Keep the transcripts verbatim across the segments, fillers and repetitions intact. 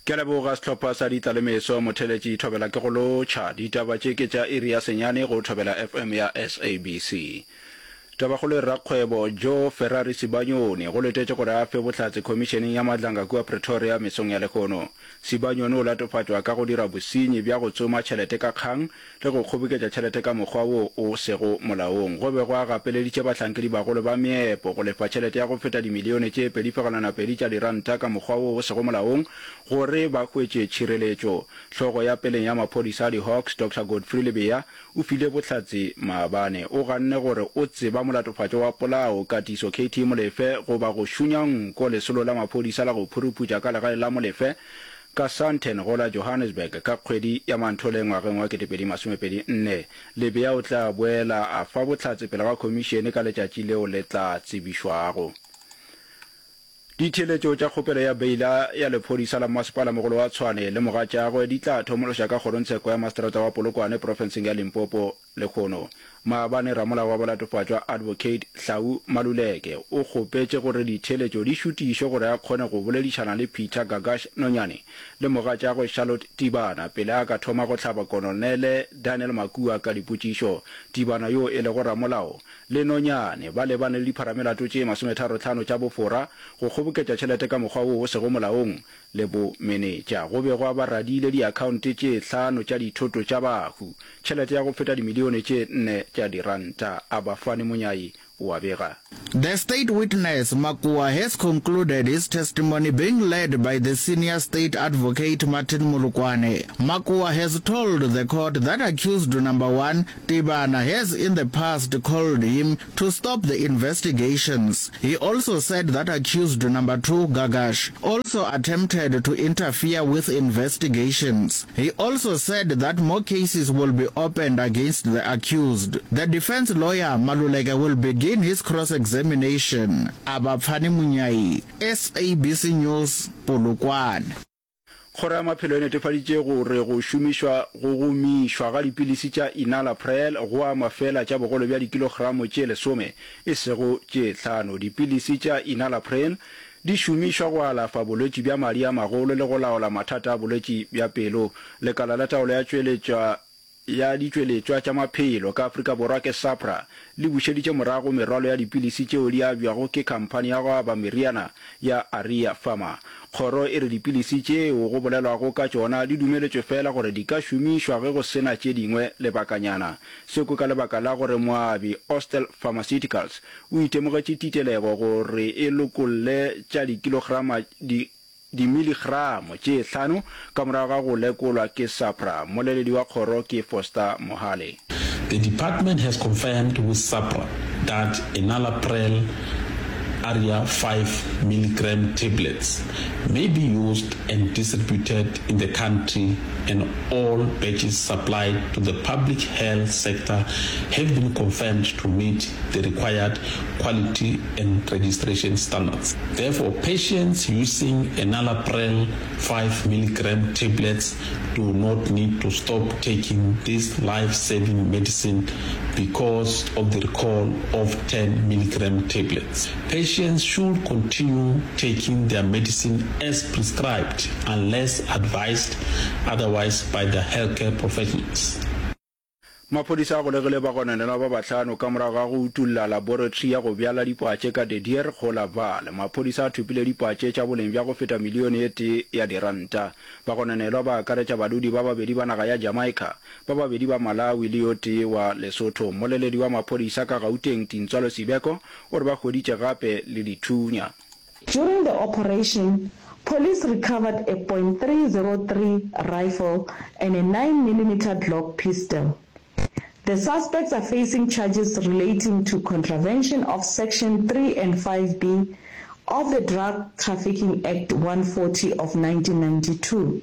Ke a leboga sehlopha sa Ditlalemeso Motheletši Thobela ke go lotšha. Ditaba tše ke tša iri ya senyane go Thobela F M ya S A B C. Tabakgolo e re rakgwebo Joe Ferrari Sibanyoni go letetše gore a fe bohlatse khomišeneng ya Madlanga kua Pretoria mesong ya lehono. Sibanyoni o latofatšwa ka go dira bosenyi bja go tsoma tšhelete ka kgang le go kgoboketša tšhelete ka mokgwa wo o sego molaong. Go be go a gapeleditše bahlankedibagolo ba meepo go lefa tšhelete ya go feta dimilione tše pedi fegelwana pedi tša diranta ka mokgwa wo o sego molaong gore ba hwetše tšhireletšo. Hlogo ya peleng ya maphodisa a di-Hawks, Doctor Godfrey Lebeya, o file bohlatse maabane. O ganne gore o tseba molatofatšwa wa polao, Katiso K T Molefe, goba go šunya nko lesolo la maphodisa la go phuruputša ka legae la Molefe ka Sandton go la Johannesburg ka kgwedi ya Manthole ngwageng wa kete pedi masomepedi nne. Lebeya o tla boela a fa bohlatse pele ga khomišene ka letšatši leo le tla tsebišwago. Ditheeletšo tša kgopelo ya beila ya lephodisa la Mmasepalamogolo wa Tshwane le mogatšagwe di tla thomološa ka kgorongtsheko ya Maseterata wa Polokwane profenseng ya Limpopo lehono. Maabane ramolao wa balatofatšwa Advocate Hlau Maluleke o kgopetše gore ditheeletšo di šutišwe gore a kgone go boledišana le Peter Gagash Nonyane le mogatšagwe Charlotte Tibana pele a ka thoma go hlaba Kolonele Daniel Makua ka dipotšišo. Tibana yo e lego ramolao le Nonyane ba lebane le dipharamelato tše masometharo-hlano tša bofora, go kgoboketša tšhelete ka mokgwa wo o sego molaong le bomenetša. Go be gwa ba radiile diakhaonte tše hlano tša dithoto tša bahu, tšhelete ya go feta dimilione tše nne tša diranta. Abafani Monyai o a bega. The state witness, Makua, has concluded his testimony being led by the senior state advocate Martin Molokwane. Makua has told the court that accused number one, Tibana, has in the past called him to stop the investigations. He also said that accused number two, Gagash, also attempted to interfere with investigations. He also said that more cases will be opened against the accused. The defense lawyer, Maluleke, will begin his cross-examination. Abapfani Munyai, S A B C News, Polokwane. Kgoro ya Maphelo e netefaditše gore go šomišwa go gomišwa ga dipilisi tša Enalapril go ama feela tša bogolo bja dikilogramo tše lesome, e sego tše hlano. Dipilisi tša Enalapril di šomišwa go alafa bolwetši bja madi a magolo le go laola mathata a bolwetši bja pelo. Lekala la Taolo ya Tšweletšwa ya Ditšweletšwa tša Maphelo ka Afrika Borwa ke SAHPRA le bušeditše morago merwalo ya dipilisi tšeo di abjwago ke khamphani ya go aba meriana ya Aria Pharma. Kgoro e re dipilisi tšeo go bolelwago ka tšona di dumeletšwe feela gore di ka šomišwa ge go se na tše dingwe lebakanyana. Seo ke ka lebaka la gore moabi Austell Pharmaceuticals o itemogetše titelego gore e lokolle tša dikilograma di dimiligramo tše hlano ka morago ga go lekolwa ke SAHPRA. Mmoleledi wa kgoro ke Foster Mohale. The department has confirmed with SAHPRA that enalapril Aria five milligram tablets may be used and distributed in the country and all batches supplied to the public health sector have been confirmed to meet the required quality and registration standards. Therefore, patients using enalapril five milligram tablets do not need to stop taking this life-saving medicine because of the recall of ten milligram tablets. Patients should continue taking their medicine as prescribed unless advised otherwise by their healthcare professionals. Maphodisa a golegile bagononelwa ba bahlano ka morago ga go utolla laboratory ya go bjala dipatše ka De Deur go la Vaal. Maphodisa a thopile dipatše tša boleng bja go feta milione e tee ya diranta. Bagononelwa ba akaretša badudi ba babedi ba naga ya Jamaica, ba babedi ba Malawi le yo tee wa Lesotho. Mmoleledi wa maphodisa ka Gauteng, Tintswalo Sibeko, o re ba hweditše gape le dithunya. During the operation, police recovered a point three zero three rifle and a nine millimeter Glock pistol. The suspects are facing charges relating to contravention of Section three and five B of the Drug Trafficking Act one forty of nineteen ninety-two.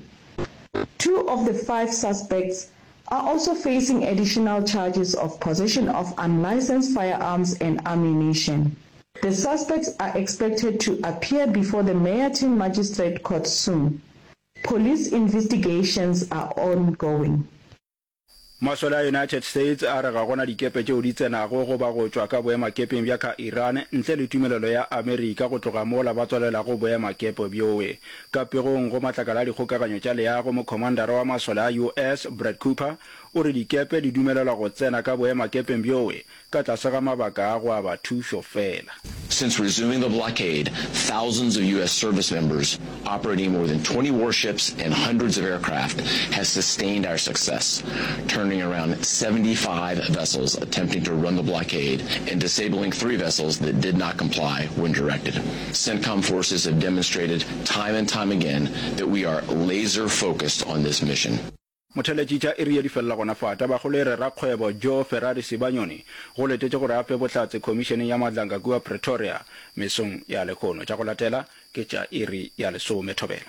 Two of the five suspects are also facing additional charges of possession of unlicensed firearms and ammunition. The suspects are expected to appear before the Meyerton Magistrate Court soon. Police investigations are ongoing. Masole a United States a re ga gona dikepe tšeo di tsenago goba go tšwa ka boemakepeng bja ka Iran ntle le tumelelo ya Amerika go tloga mola ba tswalelago boemakepe bjoe. Ka pegong go matlakala a dikgokaganyo tša leago, mokhomandara wa masole a U S Brad Cooper o re dikepe di dumelelwa go tsena ka boemakepeng bjoe ka tlase ga mabaka a go aba thušo fela. Since resuming the blockade, thousands of U S service members operating more than twenty warships and hundreds of aircraft have sustained our success, turning around seventy-five vessels attempting to run the blockade and disabling three vessels that did not comply when directed. CENTCOM forces have demonstrated time and time again that we are laser focused on this mission. Motheletši tša iri ye di felela gona fa. Tabakgolo e re rakgwebo Joe Ferrari Sibanyoni go letetše gore a fe bohlatse khomišeneng ya Madlanga kua Pretoria mesong ya lehono. Tša go latela ke tša iri ya lesome. Thobela.